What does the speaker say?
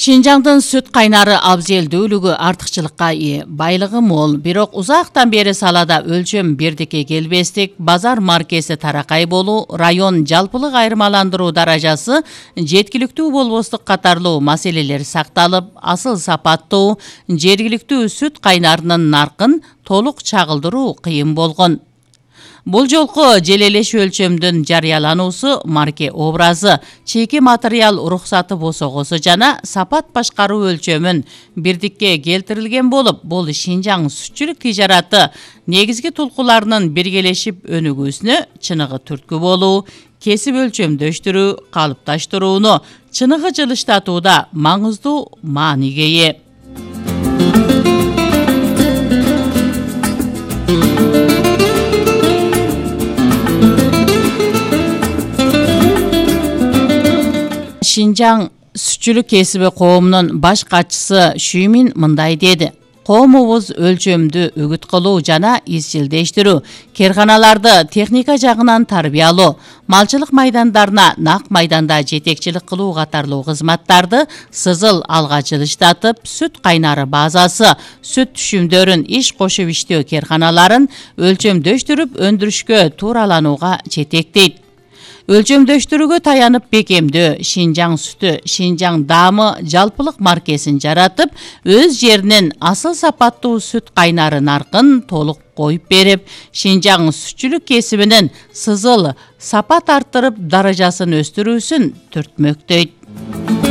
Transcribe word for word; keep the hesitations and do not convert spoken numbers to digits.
Шинжаңдын сүт кайнары абзелдүүлүгү артыкчылыкка ээ, байлыгы мол, бирок узактан бери салада өлчөм бирдикке келбестик, базар маркеси таракай болуу, район жалпылык айырмаландыруу даражасы жеткиликтүү болбостук катарлуу маселелер сакталып, асыл сапаттуу жергиликтүү сүт кайнарынын наркын толук чагылдыруу кыйын болгон. Бул жолку желелеш өлчөмдүн жарыялануусу марке образы, чийки материал уруксаты босогосу жана сапат башкаруу өлчөмүн бирдикке келтирилген болуп, бул Шинжаң сүтчүлүк тижараты негизги тулкуларынын биргелешип өнүгүүсүнө чыныгы түрткү болуу, кесип өлчөмдөштүрүү, калыпташтырууну чыныгы жылыштатууда маңыздуу мааниге ээ. Шинжаң сүтчүлүк кесиби коомунун баш катчысы Шүймин мындай деди: коомубуз өлчөмдү үгүт кылуу жана изчилдештирүү, керканаларды техника жагынан тарбиялоо, малчылык майдандарына нак майданда жетекчилик кылуу катарлуу кызматтарды сызыл алга жылыштатып, сүт кайнары базасы, сүт түшүмдөрүн иш кошуп иштөө керканаларын өлчөмдөштүрүп өндүрүшкө туураланууга жетектейт. Өлчөмдөштүрүүгө таянып бекемдөө, Шинжаң сүтү, Шинжаң даамы жалпылык маркесин жаратып, өз жеринин асыл сапаттуу сүт кайнары наркын толук коюп берип, Шинжаң сүтчүлүк кесибинин сызыл сапат арттырып, даражасын өстүрүүсүн түртмөктөйт.